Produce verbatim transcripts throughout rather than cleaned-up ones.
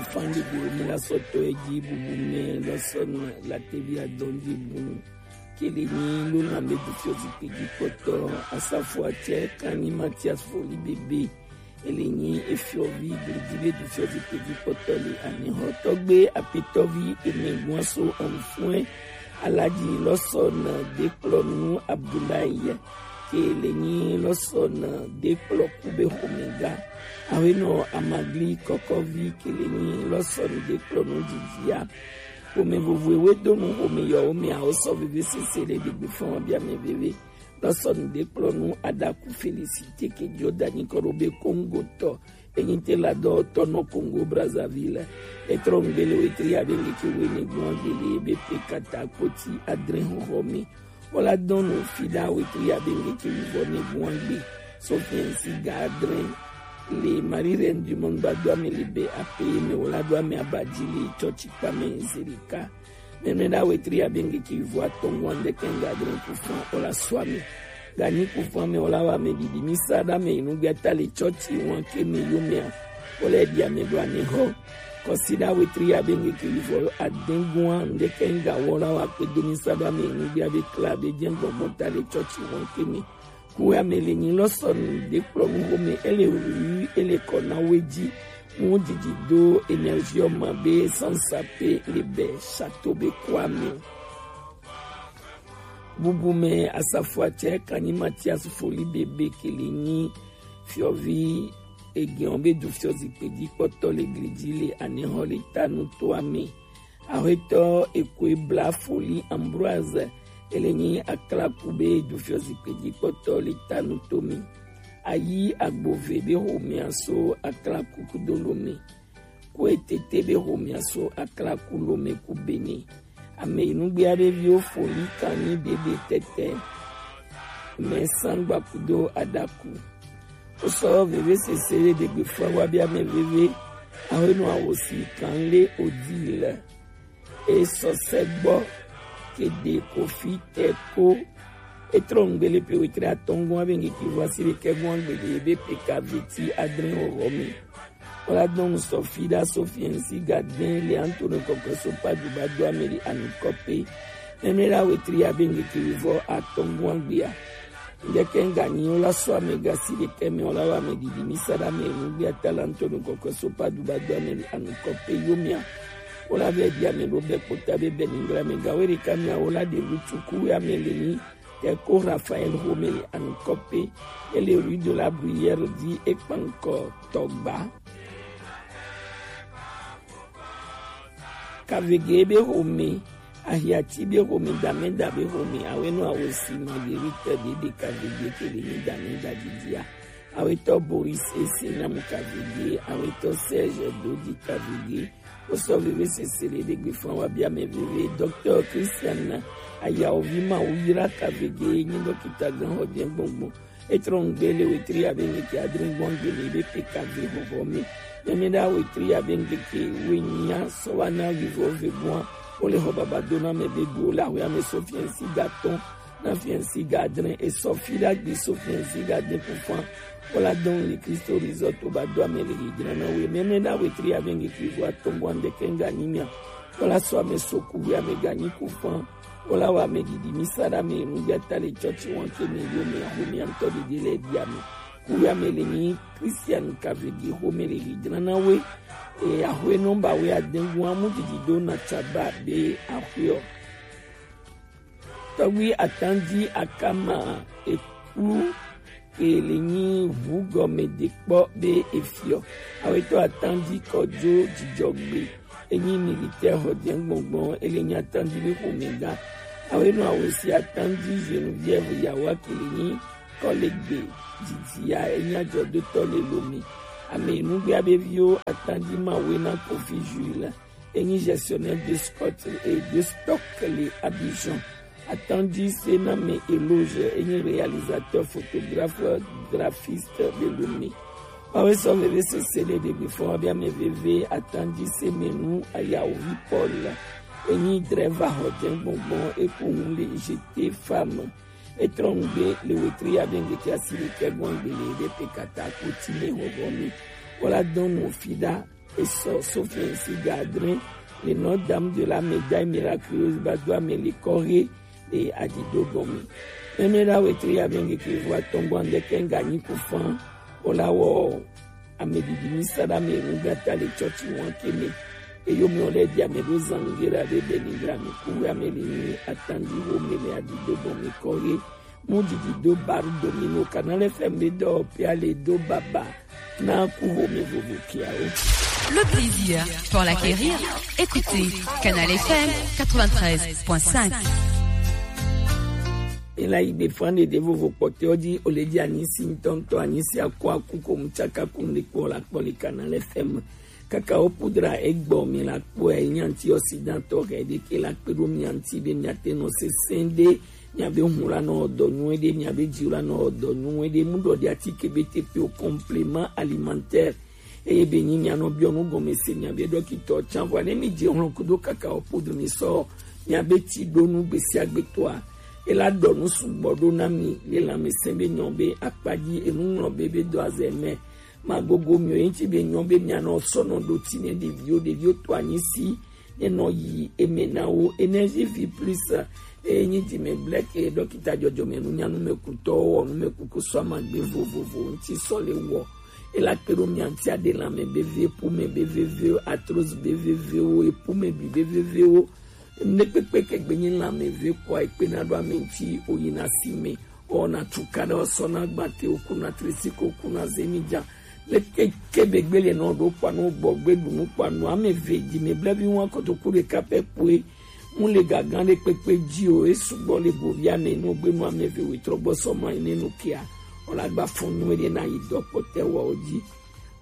Fande bo mi la sɔtɔ eji bubu mɛ lɔsɔn la tevi adɔn ji bunu. Kele ni lo na me du fiɔ zikpe ji kpɔtɔ. Asafo atsɛ kan ni Mathias Foli Bebe. Ele nyi efiɔvi glidi be du fiɔ zikpe ji kpɔtɔ le anehɔ tɔgbe apetɔvi ene guaso anfuɛ Alaji lɔsɔn dekplɔnu Abdoulaye. Kele nyi lɔsɔn dekplɔ kube homega. Awenɔ Amagli kɔkɔvi kele nyi lɔsɔn dekplɔnu jijiya. Home vovo ewe donu home yɔ home awo sɔ veve sese le degbe fɔn bia me veve. Lɔsɔn dekplɔnu Adaku Félicité ke Jordan kɔɖo be Congo tɔ. Enyi te la dɔ tɔ nɔ Congo Brazzaville. Etrɔ ngbele wetri abe ngeke wene gbɔn gbele ebe pe kata koti adre hoho mi. Wala dɔn no fida wetri abe ngeke wivɔ ne gbɔn gbe. Sofiensi ga adre. Le Marie Reine du Monde ba do ame le be ape me wala do ame abaji le chɔchi kpa me zerika. Mɛmɛ ɖe awetri abe ŋkeke wivɔ atɔ̃ ŋgɔ ŋdɛkɛ ŋga adre kufan wala sɔ ame. Ganyi kufan mɛ wala wa ame ɖiɖi mi sa ɖe ame yi nugbe ata le chɔchi wan ke mi yo mɛa. Wala eɖi ame ɖo ane hɔ. Kɔsi ɖe awetri abe ŋkeke wivɔ adẽ ŋgɔ ŋdɛkɛ ŋga wala wa kpe do mi sa ɖe ame yi nugbe abe kla abe jɛ gbɔgbɔ ta le chɔchi wan ke mi. Kuwe ame le nyi lɔsɔnu de kplɔ nu home ele wu ele kɔ na we ji. Mu didi do énergie ma be sansa pe le be château be kwame. Bubu me asafo atsɛ kanyi Mathias Foli Bebe kele nyi fiɔvi egiɔn be du fiɔ zikpe ji kpɔtɔ le gli ji le anehɔ le tanu to ame. Ahwetɔ ekoe bla Foli Ambroise ele nyi aklaku be du fiɔ zikpe ji kpɔtɔ le tanu to mi. Ayi agbove be homea so aklaku kudo lo me. Ko etete be homea so aklaku lo me ku bene. Ame yi nugbe aɖe viwo Foli kanyi bebe tete. Me sangba kudo adaku. Wosɔ veve sese ɖe ɖegbe fua wa bia me veve. Ahwenu awosi kan le odi le. Esɔ sɛgbɔ kede kofi tɛ ko. Etrɔ ŋgbele pe wetre atɔngɔn abe ŋkeke vɔ asi ɖekɛ gɔn agbede ebe pe ka veti adre wɔwɔ mi. Wala dɔn sɔ fi ɖa so fiɛnsi ga dɛn le anto ne kɔkɔ so pa du ba do ame le anukɔ pe. Mɛmɛ la wetri abe ŋkeke vɔ atɔngɔn agbea. Ŋdɛkɛ ŋga nyi wala sɔ ame ga si ɖekɛ mɛ wala wa ame ɖiɖi mi sa ɖe ame nugbe ata le anto ne kɔkɔ so pa du ba do ame le anukɔ pe yo mia. Wala vɛ di ame ɖo bɛ kpota be bɛ ningra me ga we ɖeka mia wala de lu tuku we ame le nyi. Tɛ ko Raphaël Romele anukɔ pe ele rue de la Bruyère di ekpankɔ tɔgba. Kavege be home, ahiati be home, dameda be home, awenu awosi Marguerite de de kavege kele ni dameda didia. Awetɔ Boris Ese Namu kavege, awetɔ Serge Dodi kavege, Wosɔ veve sese le ɖegbe fã wa bia me veve. Docteur Christian Ayaovi Mawu yra kavege nyi dɔkita gan xɔ jɛ gbɔngbɔn. Etrɔ ŋgbe le wetri abe ŋkeke adre gbɔn gbele be pe kave xɔxɔ mi. Mɛmɛ ɖe wetri abe ŋkeke wenya sɔ wa na wivɔ ve gbɔn. Wole xɔ baba do na me be do la xɔ ya me so fiɛnsi ga tɔn. Na fiɛnsi ga adre esɔ fi ɖe agbi so fiɛnsi ga adre kufan. Wala dɔn le Kristo rizɔto ba do ame le hijra na we mɛmɛ na wetri abe ŋkeke vɔ atɔngɔn ŋdɛkɛ ŋga nyi mia. Wala sɔ ame so ku we ame ga nyi kufan. Wala wa ame ɖiɖi mi sa ɖe ame nu ya ta le chɔchi wan ke mi yo me aho mi antɔ ɖiɖi le di ame. Ku we ame le nyi Christian kavege ho me le hijra na we. E aho nɔmba we adɛngu amu ɖiɖi do na tsaba be aho. Tɔgbi atandi akama ekplu ke le nyi ʋu gɔme de kpɔ be efiɔ. Awetɔ atandi kɔdzo dzidzɔgbe enyi militaire xɔ jɛ gbɔngbɔn ele nyi atandi be xomɛga. Awenɔ awosi atandi Geneviève Yawa ke le nyi kɔlegbe dzidzia enyi adzɔdotɔ le Lome. Ame nugbea be viwo atandi mawe na Kofi Jules. Enyi gestionnaire de sport et de stock le Abidjan. Atandi se na me Eloge, enyi réalisateur, photographe, graphiste de Lome. Wawe sɔ veve sese le ɖegbe fɔ wa bia me veve atandi se me nu Ayaovi Paul. Enyi drɛva xɔ jɛ gbɔngbɔn eku ŋu le G T femme. Etrɔ ŋgbe le wetri ya be ŋdeke asi le kɛ gbɔn gbe le ɖe pe kata ko ti me xɔxɔ mi. Wala dɔn nu fi ɖa. Esɔ Sophie ainsi Gadrin, le nom dame de la médaille miraculeuse, ba do ame le kɔhe le adido gɔme. Mɛmɛ la wetri ya bɛn keke vo atɔngɔ andɛ kɛ nga nyi kufan o la wɔ ame didi mi sa da me nu gata le chɔchi wan ke me. Eyo mi ole di ame do zangera de beni gra mi ku ame ni atandi wo me le adido gɔme kɔhe. Mu didi do baru domino Canal F M be do pia le do baba na ku ho me vovo kia o. Le plaisir pour l'acquérir, écoutez Canal F M quatre-vingt-treize point cinq. Ela igbe fane de vovo kpɔtɛ ɔ di ole di anyi si ŋtɔŋtɔ anyi si akɔ aku ko mu tsaka ku ŋde kpɔ la kpɔ le Canal F M. Kaka o pudra egbɔ mi la kpɔ e nyanti ɔsidan tɔ hɛ de ke la kpe do mi anti be mi ate nɔ sesɛn de mi abe hun la nɔ dɔ nyuɛ de mi abe ji la nɔ dɔ nyuɛ de mu dɔ di ati ke be te pe o complément alimentaire. Eye be nyi mia nɔ biɔ nu gɔme se mia be dɔkitɔ can vɔ ne mi je hlɔn kudo kaka o podo mi sɔ mia be ti do nu gbesi agbe toa. Ela dɔ nu sugbɔ do na mi le lanmese be nyɔ be akpa ji enu ŋlɔ be be do azɛ mɛ. Ma gogo mi o yin ti be nyɔ be mia nɔ sɔ nɔ do ti ne ɖeviwo ɖeviwo to anyi si ne nɔ yi eme na wo. Énergie Vie Plus e nyi di me blɛke dɔkita jɔjɔmɛ nu nya nu me kutɔ wɔ nu me kuku sɔ amagbe vovovo ŋti sɔ le wɔ. Ela kpe ɖo mia ŋti aɖe lanmɛ be ve epume be vevewo, arthrose be vevewo, epume bi be vevewo. Nɖe kpekpe ke gbe nyi lanmɛ ve kɔa ekpe na ɖo ame ŋti o yi na si me. Ɔ na tuka ɖe ɔ sɔ na gbate o ku na trisi ko ku na zemi ja. Le ke ke be gbe le nɔ ɖo kpa no gbɔ gbe ɖu nu kpa no ame ve ji me blevi wa kotoku ɖeka pɛ kpoe. Mu le gagan ɖe kpekpe ji o e sugbɔ le govi ame no gbe nu ame ve wetrɔ gbɔ sɔ ma ne nu kia. Ɔ la gba fɔn nu ɖe na yi dɔ kpɔtɛ wɔ o ji.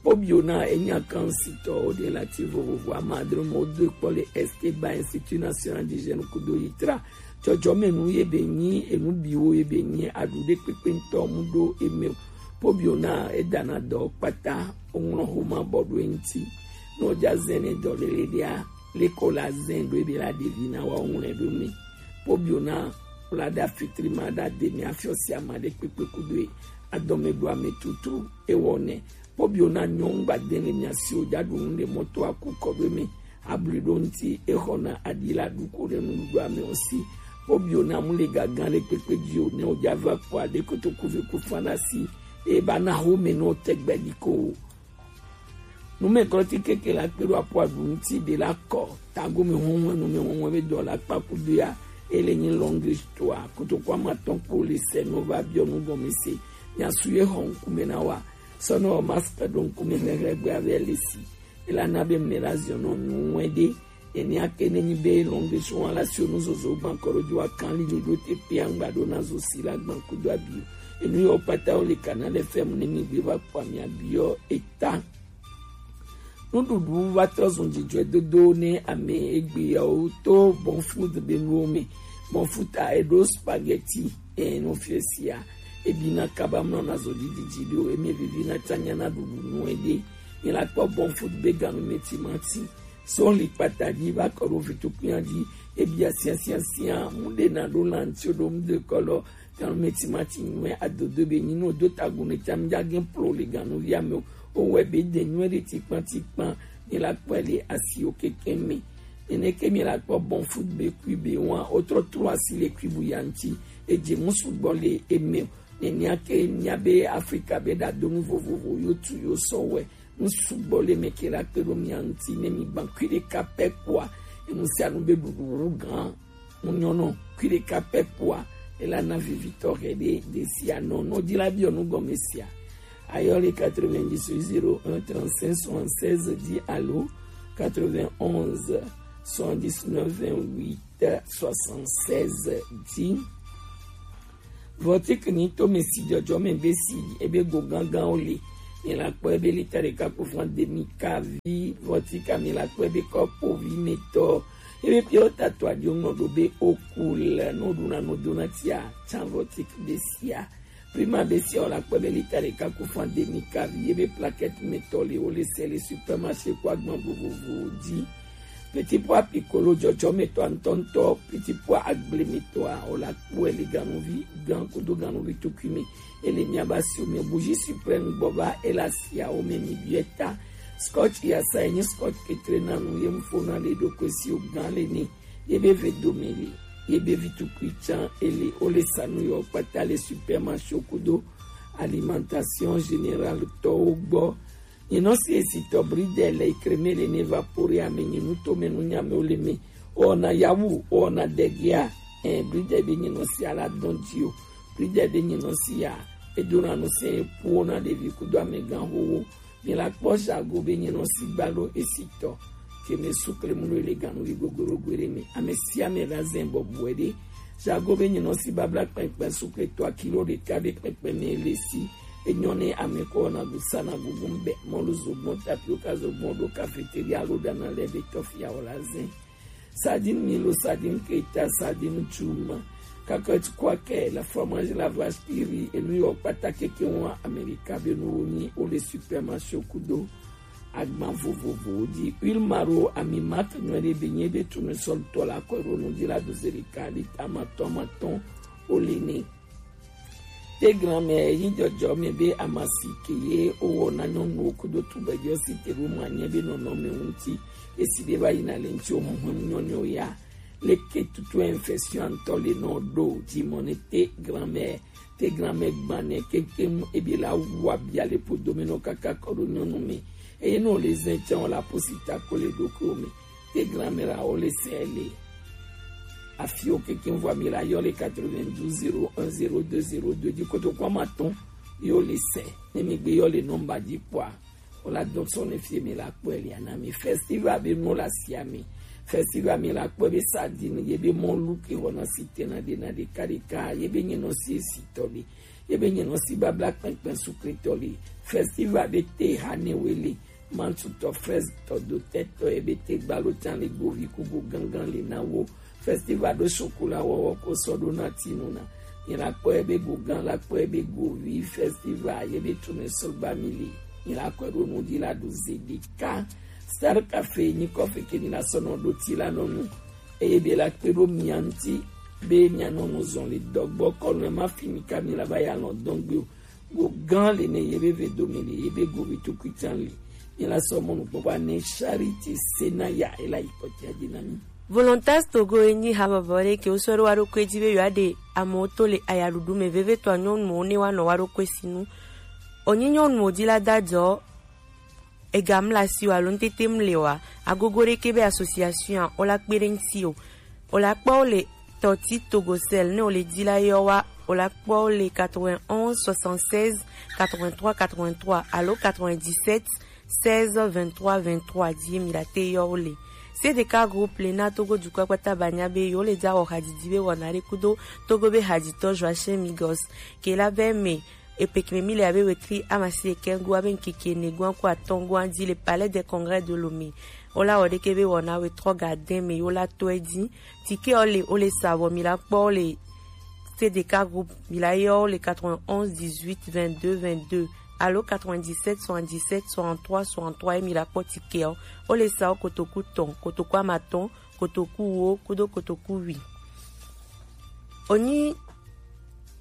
Kpobio na enya kan sitɔ o de la ti vovovo ama adre mo do kpɔ le Esteban Institut National du Jeune kudo yitra. Jɔjɔmɛnu ye be nyi enu biwo ye be nyi aɖu ɖe kpekpe ŋtɔ mu ɖo eme o. Pobio na edana dɔ kpata oŋlɔ xoma bɔ ɖo eŋti. Ne oja zɛn ne dɔ lele ɖea, leko la zɛn ɖo ebe la ɖevi na wa oŋlɔe ɖo me. Pobio na kpla ɖa fitri ma ɖa de mi afiɔ si ama ɖe kpekpe kudo e adɔme ɖo ame tutu ewɔ nɛ. Pobio na nyɔnu gba de le mia si o ja ɖu nu ɖe mɔto aku kɔ ɖo eme. Abli ɖo ŋti exɔna aɖi la ɖu ko ɖe nuɖuɖua me o si. Pobio na mu le gagan ɖe kpekpe ji o ne o ja va kpɔ aɖe kotoku ve ku fana si. E ba na xo me no tɛgbɛ ɖi ko o. Nume klɔti keke la kpe ɖo apo aɖu ŋti ɖe la kɔ. Tago me hɔnhɔn nume hɔnhɔn be dɔ la kpa kudo ya. Ele nyi longue histoire. Kotoku ama tɔn kpo le sɛ no va biɔ nu gɔme se. Mia su ye xɔ ŋkume na wa. Sɔ no masque ɖo ŋkume xlexle gbe ave le si. Ela na be mle la ziɔ nɔ nu ŋue ɖe. Enia ke ne nyi be lɔn be so wa la si onu zozo gban kɔ ɖo jo akan li ni ɖo te pe angba ɖo na zo si la gban kudo abi o. Enu yɔ kpata o le Canal F M ne mi gbe va kpɔ ami abi yɔ eta. Nuɖuɖu va trɔ zun dzidzɔe dodo ne ame egbe yawo to Bon Food be nuwo me. Bon Food a eɖo spaghetti e no fie sia. Ebi na kaba mlɔ na zo didi dzi ɖo eme vivi na tsanya na ɖuɖu nu ede. Mi la kpɔ Bon Food be ganu me timati. Sɔli kpata dzi va kɔ ɖo vitukpia dzi. Ebia sia sia sia mu ɖe na ɖo lanti ɖo mu de kɔlɔ. Ganu me timati nyuɛ adodo be nyi no do tagun ne tam ja gen plo le ganu via me o. O wɛ be de nyuɛ ɖe tikpan tikpan. Mi la kpɔ le asi o keke me. Nene ke mi la kpɔ Bon Food be kui be wan o trɔ trɔ asi le kui bu yanti. Edze musu gbɔ le eme o. Nenia ke nya be Afrika be ɖa do nu vovovo yo tu yo sɔ wɛ. Nu sugbɔ le mɛ ke la kpe ɖo mia ŋti ne mi gban kui ɖeka pɛ kpoa. Enu sia nu be ɖuɖu wu gan. Mu nyɔnɔ kui ɖeka pɛ kpoa. Ela na vivitɔ hɛ ɖe ɖe sia nɔ nɔ dzi la biɔ nu gɔme sia. Ayɔ le quatre-vingt-dix zéro un trente-cinq soixante-seize dzi alo quatre-vingt-onze soixante-dix-neuf vingt-huit soixante-seize dzi. Vɔtik ni to mi si jɔjɔ mi be si ebe go gangan o le. Mi la kpɔ ebe lita ɖeka kpo fún demi kavi vɔtik mi la kpɔ ebe kɔpo vi mi tɔ. Ebe pio tato adio nɔ do be oku le no do na no do na tia tsan vɔtik be sia. Prima be sia o la kpɔ ebe lita ɖeka kpo fún demi kavi ebe plaquette mi tɔ le o le sɛ le supermarché kó agban vovovo dzi. Petit pois piccolo jɔjɔmetɔ ŋutɔŋutɔ, petit pois agblemetɔa, o la kpɔe le ganuvi gan kudo ganuvi tukui me. Ele miaba si o me bougie suprême gbɔ va ela sia o me mi biɛ ta. Scotch ya sa enyi Scotch ketre na nu ye mu fo na le ɖo kwe si o gan le ni ye be ve do mi li ye be vi tukui can ele o le sa nu yɔ kpata le supermarché kudo alimentation générale tɔwo gbɔ. Nyinɔ si esi tɔ bridɛ le ikreme le ne vapore ame nyinu to me nu nyame o le me o na yawu o na dɛgia. Ɛn bridɛ be nyinɔ si ala dɔn di o bridɛ be nyinɔ si ya edona nu se epuwo na ɖevi kudo amegã xowo. Mi la kpɔ Jago be nyinɔ si gbalo esi tɔ ke me sukle mu le ganu vi gogoro gwe ɖe me ame sia ame la zɛn bɔbɔe ɖe. Jago be nyinɔ si babla kpɛnkpɛn sukle tɔ akilo ɖeka be kpɛnkpɛn me le si enyɔ ne ame kɔ na gusa na gugu bɛ mɔlu zogbɔn tapioka zogbɔn ɖo kafeteri alo dana lɛ be tɔfia o la zɛn. Sardine Milo, sardine Keita, sardine Juma, cacahuète Quaker, la fromage, la vache qui rit, enu yɔ kpata keke wa Amerika be nu wo nyi o le supermarché kudo agban vovovo di huile maro ami mat nyɔ ɖe be nye be tournesol tɔ la kɔ ɖo nu di la doze ɖeka lita amatɔn amatɔn o le ne. Te granmɛ yi jɔjɔ mɛ be amasi ke ye o wɔ na nyɔnuwo kudo tugbɛjɔ si te ɖo ma nyɛ be nɔnɔme ŋuti esi be va yina le ŋuti o huhun nyɔnyɔ ya leke tutu infection ŋutɔ le nɔ ɖo dzi mɔ ne te granmɛ te granmɛ gbanɛ keŋkeŋ ebi la wu abia le podo me nɔ kaka kɔ ɖo nyɔnu me eye nɔ le zɛ tsɛ o la posi ta ko le ɖokuiwo me. Te granmɛ la o le sɛ le afiwo kekeŋ vɔ mi la yɔ le quatre-vingt-douze zéro un zéro deux zéro deux di kotoku ama tɔn yo le sɛ ne mi gbe yɔ le nɔmba di kpɔa o la dɔn sɔ ne fie mi la kpɔe le ana mi festival be nu la sia mi festival mi la kpɔe be sardine ye be mɔlu ke wɔna si tena de na de ka de ka ye be nye nɔ si esi tɔ le ye be nye nɔ si babla kpɛnkpɛn sukretɔ le festival be te ha ne we le Mantutɔ, Frɛzitɔ, Dotɛtɔ, ebe te gbalo can le gbovi ku go gangan le na wo. Festival ɖo sokola wɔwɔ ko sɔ ɖo na tinu na. Mi la kpɔ ebe go gan la kpɔ ebe govi festival ye be tunu sɔgba mi le. Mi la kpɔ ɖo nu di la ɖo ze ɖeka. Star Cafe nyi kɔfe ke mi la sɔ nɔ ɖo ti la nɔ nu. Eye be la kpe ɖo mia ŋuti be mia nɔ nu zɔn le dɔgbɔ kɔnu ma fi mi ka mi la va ya lɔ dɔn gbe o. Go gan le ne ye be ve do mi le ye be go vi tukui can le. Mi la sɔ mɔnu kpɔkpɔ ne Charity Senaya e la yi kpɔtia di na mi. Volontas Togo e nyi ha vɔvɔ ɖe ke wo sɔ ɖo wa ɖo kue dzi be yewoa ɖe amewo to le ayaɖuɖu me vevitɔ nyɔnuwo ne wa nɔ wa ɖo kue si nu. Wonyi nyɔnuwo dzi la da dzɔ ega mla si o alo ŋtete mle oa, agogo ɖeke be association a, o la kpe ɖe ŋuti o. O la kpɔ wo le Tɔti Togosel ne o le di la yɔ wa, o la kpɔ wo le quatre-vingt-onze soixante-seize quatre-vingt-trois quatre-vingt-trois alo quatre-vingt-dix-sept seize vingt-trois vingt-trois di mi la te yɔ wo le. C D K groupe le na Togo dukɔ kpata ba nya be yo le dza wɔ hadidi be wɔna ɖe kudo Togo be haditɔ Joachim Migos ke la be me Epekeme mi le abe wetri amasi ekɛgo abe ŋkeke ene goa ko atɔn goa di le Palais des Congrès de Lomé. Wo la wɔ ɖeke be wɔna wetrɔ ga dɛn me yo la tɔe di. Tike wo le wo le sa vɔ mi la kpɔ wo le C D K groupe mi la yɔ wo le quatre-vingt-onze dix-huit vingt-deux vingt-deux alo quatre-vingt-dix-sept soixante-dix-sept soixante-trois soixante-trois ye mi la kpɔ tike wo. Wo le sa wo kotoku tɔn, kotoku amatɔn, kotoku wo kudo kotoku wi. Wonyi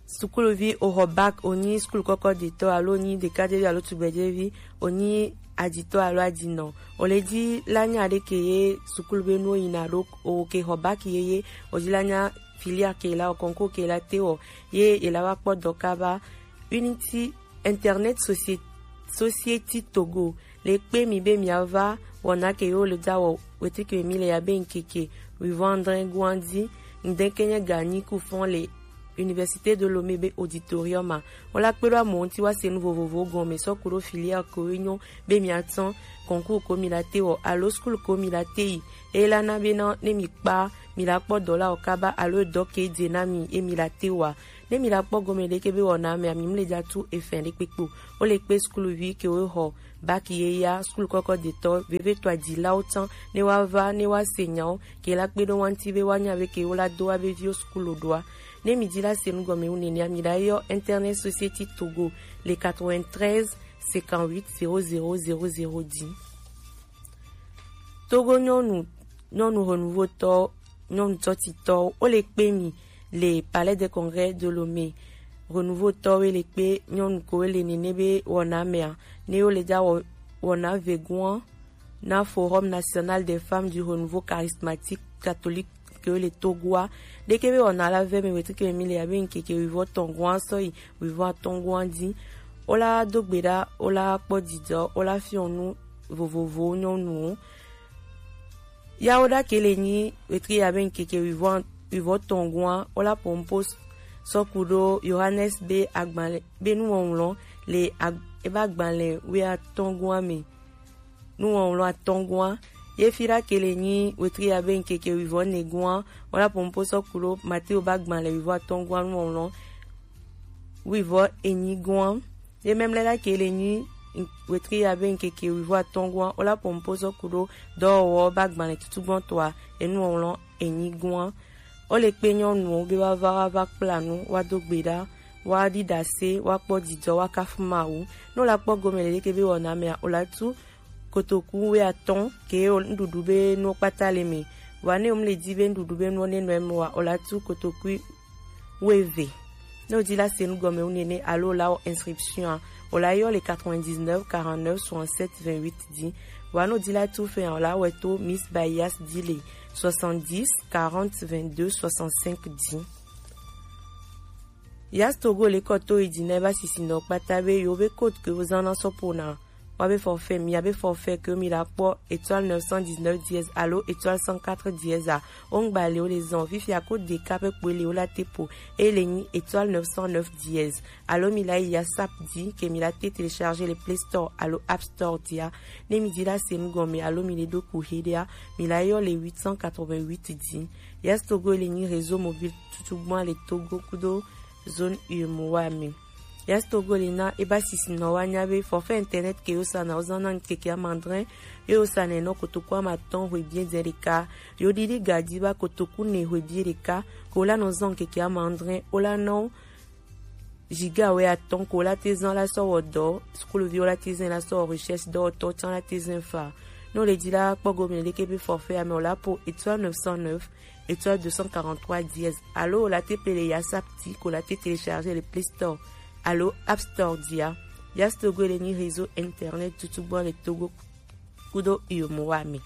sukuluvi o xɔ bac, wonyi sukulu kɔkɔ detɔ alo wonyi ɖekadzevi alo tugbɛdzevi, wonyi aditɔ alo adinɔ. O le di la nya ɖe ke ye sukulu be nuwo yina ɖo o ke xɔ bac ye ye o di la nya filière ke la o concours ke la te wɔ ye e la va kpɔ dɔ kaba. Unity Internet Society Togo le kpe mi be mia va wɔna ke yo le dza wɔ wetike mi le ya be ŋkeke wivɔn adre goa di ŋdɛn ke nye ganyi ku fɔn le Université de Lomé be auditorium a. Wo la kpe ɖo amewo ŋuti wa se nu vovovowo gɔme sɔ ku ɖo filière ko ye nyo be mia tsɔn concours ko mi la te wɔ alo school ko mi la te yi. Eye la na be na ne mi kpa mi la kpɔ dɔ la o kaba alo dɔ ke dze na mi ye mi la te wa. Ne mi la kpɔ gɔme ɖeke be wɔna mea mi mu le dza tu efɛn ɖe kpekpe o. Wo le kpe sukuluvi ke wo xɔ bac ye ya sukulu kɔkɔ detɔ vevitɔ adilawo tsã ne wa va ne wa se nyawo ke la kpe ɖo wa ŋuti be wa nya be ke wo la do wa be viwo sukulu ɖoa. Ne mi di la se nu gɔme wu nenea mi la yɔ Internet Society Togo le quatre-vingt-treize cinquante-huit zéro zéro zéro zéro di. Togo nyɔnu nyɔnu renouveau tɔ nyɔnu tɔtitɔwo wo le kpe mi le Palais des Congrès de Lomé. Renouveau tɔwo le kpe nyɔnu ko le nene be wɔna mea ne wo le dza wɔ wɔna vegoa na Forum National des Femmes du Renouveau Charismatique Catholique ke le Togoa. Ɖeke be wɔna la vɛ mi wetri ke mi le abe ŋkeke wivɔ tɔn goa sɔyi wivɔ atɔn goa di. Wola do gbe ɖa, wola kpɔ dzidzɔ, wola fiɔ nu vovovowo nyɔnuwo. Ya wo ɖa ke le nyi wetri abe ŋkeke wivɔ wivɔ tɔn goa, wola pompo sɔku ɖo Yohanes be agbalẽ be nuwɔwlɔ le ag, ebe agbalẽ wɛ atɔn goa me. Nuwɔwlɔ atɔn goa. Ye fi ɖa ke le nyi wetri abe ŋkeke wivɔ ne goa, wola pompo sɔku ɖo Mateo be agbalẽ wivɔ atɔn goa nuwɔwlɔ wivɔ enyi goa. Ye mɛmlɛ ɖa ke le nyi wetri abe ŋkeke wivɔ atɔn goa, wola pompo sɔku ɖo dɔwɔwɔ be agbalẽ tutugbɔtɔa enuwɔwlɔ enyi goa. Wo le kpe nyɔnuwo be wa va wa va kpla nu, wa do gbe ɖa, wa ɖi ɖase, wa kpɔ dzidzɔ, wa kafu Mawu. Ne wo la kpɔ gome le ɖeke be wɔna mea, wo la tu kotoku wɛ atɔn ke wo nuɖuɖu be nuwo kpata le me. Wa ne wo le di be nuɖuɖu be nuwo ne nɔ eme wa, wo la tu kotoku wɛ eve. Ne wo di la se nu gɔme wu nene alo la wɔ inscription a, wo la yɔ le quatre-vingt-dix-neuf quarante-neuf soixante-sept vingt-huit di. Wa ne wo di la tu fɛ a, wo la wɛ to Miss Bayas di le soixante-dix quarante vingt-deux soixante-cinq di. Yas Togo le kɔ to yi di na eba sisi nɔ kpata be yo be code ke wo zan na sɔ po na wa be forfait, mi ya be forfait ke mi la kpɔ étoile neuf cent dix-neuf dièse alo étoile cent quatre dièse a. O ŋgba le wo le zan fifia ko de ka pe kpoe le wo la te po e le nyi étoile neuf cent neuf dièse. Alo mi la yi ya sap di ke mi la te télécharger le Play Store alo App Store dia. Ne mi di la se nu gɔme alo mi le do ku he dia, mi la yɔ le huit cent quatre-vingt-huit di. Yas Togo le nyi réseau mobile tutugbɔn le Togo kudo zone U E M O A me. Yas Togo le na eba sisi nɔ wa nya be forfait internet ke yo sa na wo zan na ŋkeke amandrɛ, yo sa ne nɔ kotoku amatɔn hwe bie dze ɖeka. Yo ɖiɖi gadi ba kotoku ne hwe bie ɖeka, ko la nɔ zan ŋkeke amandrɛ, o la nɔ giga wɛ atɔn ko la te zan la sɔ wɔ dɔ, sukuluvi wo la te zan la sɔ wɔ recherche dɔ tɔ can la te zan fa. No le di la kpɔ gome le ke be forfait ame o la po étoile neuf cent neuf étoile deux cent quarante-trois dièse. Alo la te pele ya sap ti ko la te télécharger le Play Store alo App Store dia. Yas Togo le ni réseau internet tutugbɔn le Togo kudo U E M O A me.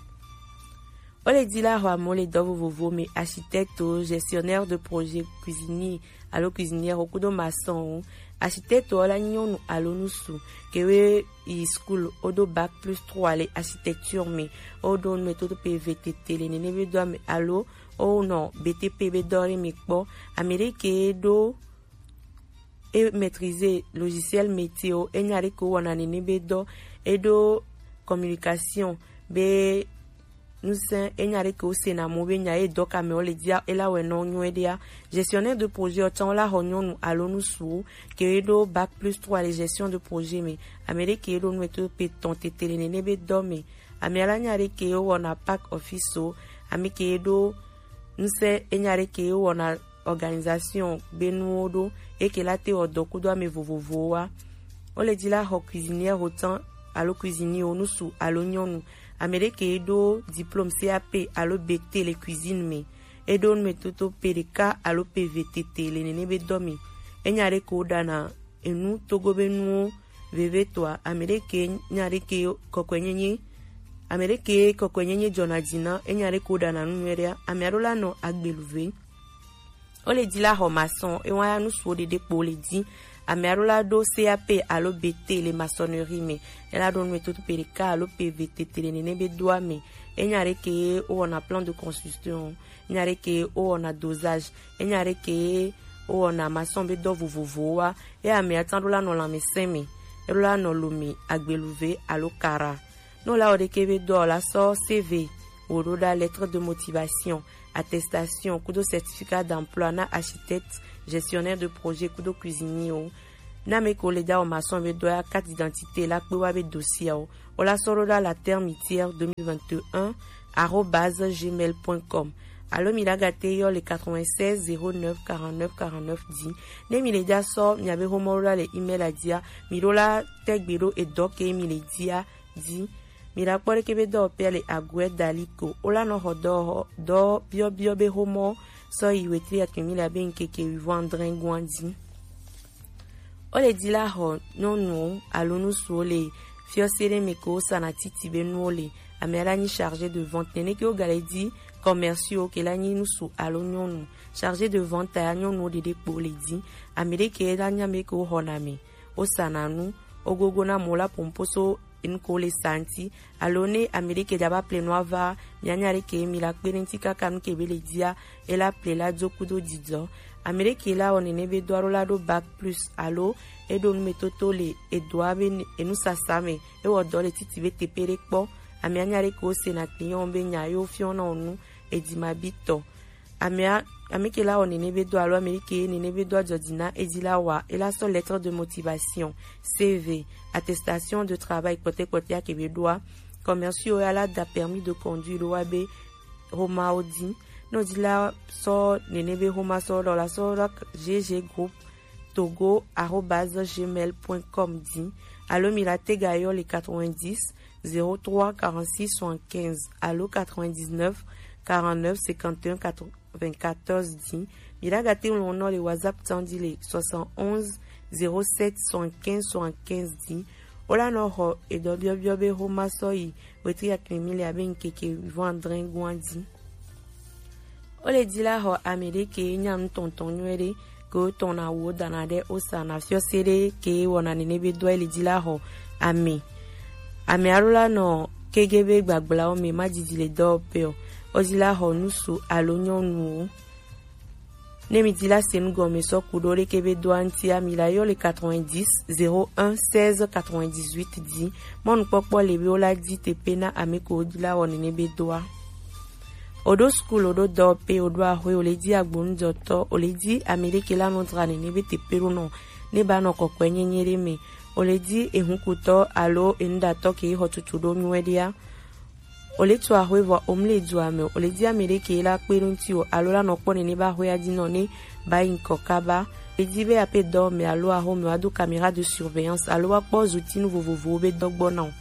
O le di la xɔ amewo le dɔ vovovo me, architecte o, gestionnaire de projet, cuisinier alo cuisinière o kudo maçon o. Architecte o la nyɔnu alo nusu ke we yi school o do bac plus trois le architecture me, o do nu me toto pe eve tete le nene be dɔ me alo o nɔ B T P be dɔ le me kpɔ. Ame ɖe ke do e maîtriser logiciel métier o, e nya ɖe ke wo wɔna nene be dɔ, e ɖo communication be nusẽ, e nya ɖe ke wo sena mo be nya e dɔ ka me wo le dia, e la wɛ nɔ nyuie ɖea. Gestionnaire de projet o can wo la xɔ nyɔnu alo nusuwo ke e ɖo bac plus trois le gestion de projet me. Ame ɖe ke e ɖo nu eto pe tɔn tete le nene be dɔ me. Ame ala nya ɖe ke wo wɔna pack office o, ame ke e ɖo nusẽ, e nya ɖe ke wo wɔna organisation be nuwo ɖo, e ke la te wɔ dɔ kudo ame vovovowo wa. O le di la xɔ cuisinière o can alo cuisinier o nusu alo nyɔnu. Ame ɖe ke e ɖo diplôme C A P alo B T le cuisine me. E ɖo nu me toto pe ɖeka alo pe eve tete le nene be dɔ me. E nya ɖe ke wo ɖana enu Togo be nuwo veve tɔa, ame ɖe ke nya ɖe ke kɔkɔe nyenye, ame ɖe ke kɔkɔe nyenye jɔna dzi na, e nya ɖe ke wo ɖana nu nyuie ɖea, ame aɖo la nɔ agbelu ve. O le di la xɔ maçon, e wa ya nusuwo ɖeɖe kpo le di. Ame aɖo la ɖo C A P alo B T le maçonnerie me, e la ɖo nu me toto pe ɖeka alo pe eve tete le nene be dɔa me. E nya ɖe ke wo wɔna plan de construction, e nya ɖe ke wo wɔna dosage, e nya ɖe ke wo wɔna maçon be dɔ vovovowo wa. E ame atan ɖo la nɔ lanmesẽ me, e ɖo la nɔ lo me, agbelu ve alo kara. No la wɔ ɖe ke be dɔ la sɔ C V wo ɖo ɖa, lettre de motivation, attestation kudo certificat d'emploi na architecte, gestionnaire de projet kudo cuisinier o. Na me ko le da o maçon be dɔ ya carte d'identité la kpe wa be dossier o. O la sɔ ɖo ɖa la termitière deux mille vingt et un arobase gmail point com. Alo mi la gate yɔ le quatre-vingt-seize zéro neuf quarante-neuf quarante-neuf di. Ne mi le ja sɔ mi abe homɔ ɖo ɖa le email a dia, mi ɖo la tɛgbe ɖo edɔ ke mi le dia di. Mi la kpɔ ɖeke be dɔ pɛ le aguɛ dali ko. O la nɔ xɔ dɔ xɔ dɔ biɔ biɔ be homɔ sɔ yi wetri atɔn mi la be ŋkeke wivɔn adrɛn guan di. O le di la xɔ nyɔnuwo alo nusuwo le Fiɔ se ɖe me ke wo sa na titi be nuwo le. Ame a la nyi chargé de vente. Nene ke wo ga le di commerciaux ke la nyi nusu alo nyɔnu. Chargé de vente a nyɔnuwo ɖeɖe kpo le di. Ame ɖe ke la nyi ame ke wo xɔ na me. Wo sa na nu. Wo gogo na mo la pompo so enu ke wo le sa ŋuti. Alo ne ame ɖe ke dza va ple nu ava, mia nya ɖe ke mi la kpe ɖe ŋuti kaka nu ke be le dia. E la ple la do kudo didɔ. Ame ɖe ke la wɔ nene be do alo la ɖo bac plus alo e ɖo numetoto le edoa be ne- enusasa me, e wɔ dɔ le titi be tepe ɖe kpɔ. Ame anya ɖe ke wo se na client be nya yo fiɔ na wo nu edi ma bi tɔ. Ame a- ame ke la wɔ nene be do alo ame ɖe ke nene be do adzɔ di na edi la wa e la sɔ lettre de motivation, C V, attestation de travail kpɔtɛ kpɔtɛ a ke be ɖoa. Commerciaux ya la da permis de conduire ɖo wa be xoma wo di. Ne wodi la sɔ nene be xoma sɔ ɖɔ la sɔ ɖɔ G G groupe togo arobase gmail point com di. Alo mi la te ga yɔ le quatre-vingt-dix zéro trois quarante-six soixante-quinze alo quatre-vingt-dix-neuf quarante-neuf cinquante et un quatre-vingt-quatorze di. Mi la ga te ŋlɔ nɔ le WhatsApp tan di le soixante-onze zéro sept soixante-quinze soixante-quinze di. Wo la nɔ xɔ edɔ biɔbiɔ be xoma sɔ yi wetri akimi le abe ŋkeke vɔn adre gua di. Wo le di la xɔ ame ɖe ke nya nu tɔntɔn nyuie ɖe ke wo tɔn na wo dana ɖe wo sa na fiɔ se ɖe ke wɔna nene be dɔ le di la xɔ ame. Ame alo la nɔ kege be gbagblawo me ma didi le dɔ pe o. Wo di la xɔ nusu alo nyɔnuwo. Ne mi di la se nu gɔme sɔ ku ɖo ɖe ke be dɔa ŋuti a mi la yɔ le quatre-vingt-dix zéro un seize quatre-vingt-dix-huit di. Mɔnukpɔkpɔ le be wo la di tepe na ame ko wo di la wɔ nene be dɔa. O ɖo school, o ɖo dɔwɔƒe, o ɖo axwe, o le di agbonudɔtɔ, o le di ame ɖe ke la nɔ dra nene be teƒe ɖo nɔ ne ba nɔ kɔkɔe nyenye ɖe me, o le di ehunkutɔ alo enuɖatɔ ke xɔ tutu ɖo nyuie ɖea. O le tu axwe vɔ o mle dua me, o le di ame ɖe ke la kpe ɖo ŋuti o alo la nɔ kpɔ nene ba axwea dzi nɔ ne ba yi ŋkɔ kaba. O le di be aƒe dɔ me alo axome wa do caméra de surveillance alo wa kpɔ zutinu vovovowo be dɔ gbɔ na o.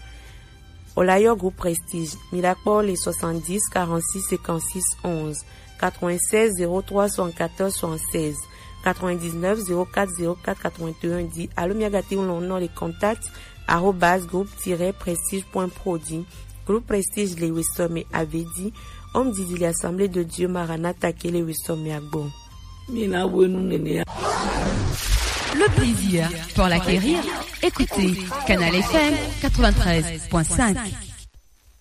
O la yɔ groupe Prestige. Mi la kpɔ le soixante-dix quarante-six cinquante-six onze, quatre-vingt-seize zéro trois soixante-quatorze soixante-seize, quatre-vingt-dix-neuf zéro quatre zéro quatre quatre-vingt-un di alo mi aga te ŋlɔ nɔ le contact arobase groupe tiret prestige point pro di. Groupe Prestige le wesɔ me ave di. Homme didi le Assemblée de Dieu Maranatha ke le wesɔ me agbɔ. Mi na wo nu nene ya. Le plaisir pour l'acquérir. Écoutez Canal F M quatre-vingt-treize point cinq.